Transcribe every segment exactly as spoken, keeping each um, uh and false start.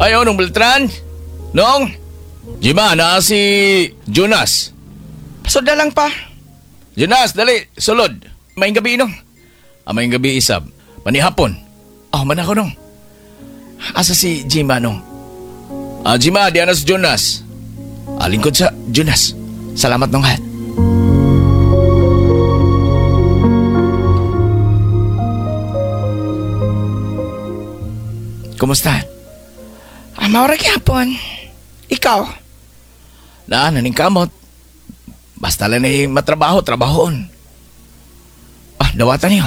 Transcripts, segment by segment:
Ayo, nung Beltran. Nong, Jima, na si Jonas. Pasod na lang pa. Jonas, dali, sulod. Maayong gabi, nong. Ah, maayong gabi, isab. Manihapon. Oh, man ako, nong. Asa si Jima, nong? Ah, Jima, diyan na si Jonas. Ah, lingkod sa Jonas. Salamat, nong, ha. Kumusta? Ah, maura gyapon. Ikaw? Na, naning kamot. Basta lang ni matrabaho, trabahoon. Ah, dawatan niyo.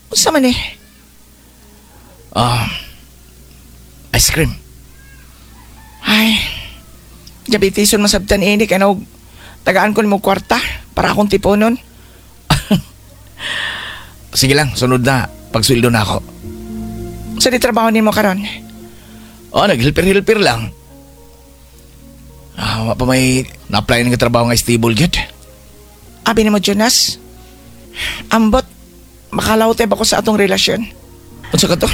Unsa man eh? Ah, ice cream. Ay, diabetison masabtan ini kay nog tagaan ko nimo kwarta para akong tiponon. Sige lang, sunod na. Pagsweldo na ako. Sa di trabaho nimo karon? Oh, naghilpir-hilpir lang. Ah, wa pa may na-apply ng trabaho nga stable gyud. Abi nimo Jonas. Ambot makalawtay ba ko sa atong relasyon? Unsa ka to?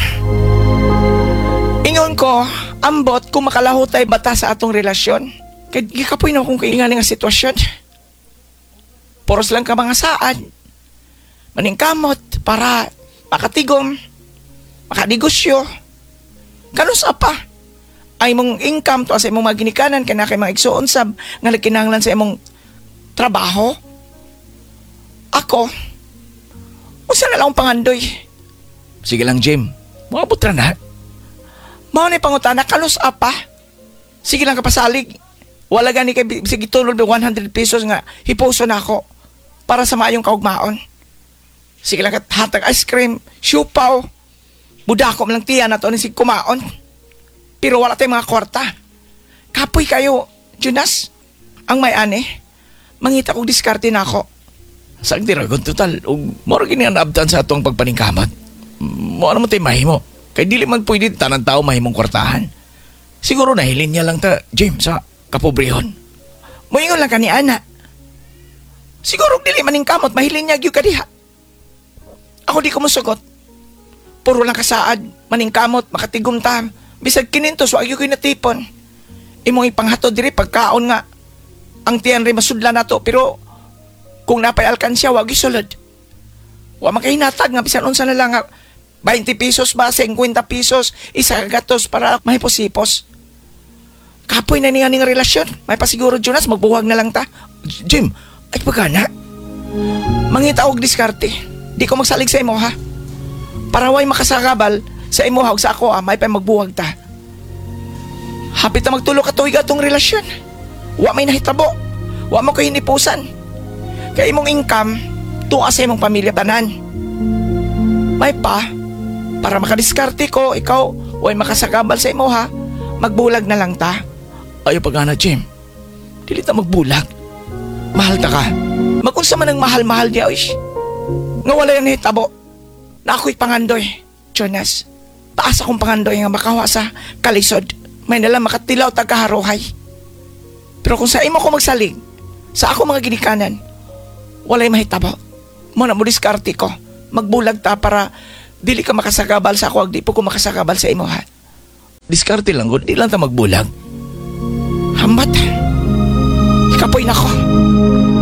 Ingon ko, ambot kung makalahutay bata sa atong relasyon. Kay gikapoy na akong kaingali nga sitwasyon. Poros lang ka mga saad. Maningkamot para makatigom, makanegosyo. Kanusa pa? Ay mong income to sa imong mga ginikanan kay na kay mga igsuon sab nga nagkinahanglan sa imong trabaho. Ako, unsa na lang akong pangandoy? Sige lang, Jim. Moabot ra na. Mao ni pangutana kanus apa? Sige lang kapasalig. Wala gani kay sige tulod one hundred pesos nga hipuso na ako para sa maayong kaugmaon. Sige lang kat hatag ice cream, siupaw. Budako man lang tiyan na to ni sig kumaon. Pero wala tayong mga kwarta. Kapoy kayo, Jonas. Ang may ani, mangita kog diskarte na ako. Sang diragon total ug mao ra gini ang naabtan sa atong pagpaningkamot. Mao na mo tay mahimo. Kay dili man pwede tanang tao mahimong kwartahan. Siguro nahilin niya lang ta, James, sa kapobrehon. Moingon lang kani ana. Siguro dili man ning kamot mahilin niya gyud kadiha. Ako di ko mosugot. Puro lang kasaad, maningkamot, makatigom ta. Bisag kinintos, wa gyud ko'y natipon. Imong ipanghatod diri pagkaon nga ang tiyan rin masudla nato, pero kung napay alkansya, wa gyud sulod. Wa man kay hinatag nga bisan unsa na lang nga twenty pesos ba, fifty pesos, isa ka gatos para mahipos-hipos. Kapoy na niya ning relasyon. May pasiguro, Jonas, magbuwag na lang ta. Jim, ay pagana. Mangita og diskarte. Di ko magsalig sa imo, ha? Para way makasagabal sa imo ha, ug sa ako, ha, may pa magbuwag ta. Hapit na magtulo ka tuig atong relasyon. Wa may nahitabo. Wa mo kay hinipusan. Kay imong income, tuwa sa imong pamilya tanan. May pa, para makadiskarte ko, ikaw, way makasagabal sa imo, ha, magbulag na lang ta. Ayaw pagana, Jim. Dili ta magbulag. Mahal ta ka. Magunsa man ang mahal-mahal niya, oy. Nga wala yung nahitabo. Na ako'y pangandoy, Jonas. Taas akong pangandoy nga makawa sa kalisod. May nala makatilaw tagkaharuhay. Pero kung sa imo ko magsalig, sa ako mga ginikanan, walay mahitabo. Mo na mo diskarte ko. Magbulag ta para dili ka makasagabal sa ako, di po ko makasagabal sa imo, ha. Diskarte lang, di lang ta magbulag. Hambat. Ikapoy na ko.